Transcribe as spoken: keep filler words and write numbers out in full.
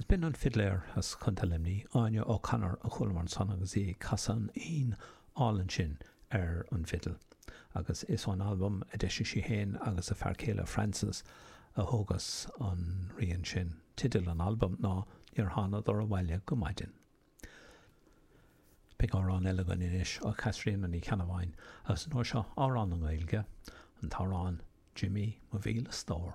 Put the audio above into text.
Agus b'in an fidléir as Contae Luimnigh, Áine O'Connor a chualamar ansan agus í ag casadh an fhoinn álainn sin ar an bhfidil. Agus is ón albam a d'eisigh sí féin agus a fear céile Francis a thógas an rian sin. Teideal an albaim ná Níor Thánadar Abhaile go Maidin. Beidh amhrán eile againn anois ó Chaitríona Ní Cheannabháin agus an uair seo amhrán i nGaeilge, an t-amhrán Jimí mo mhíle stór.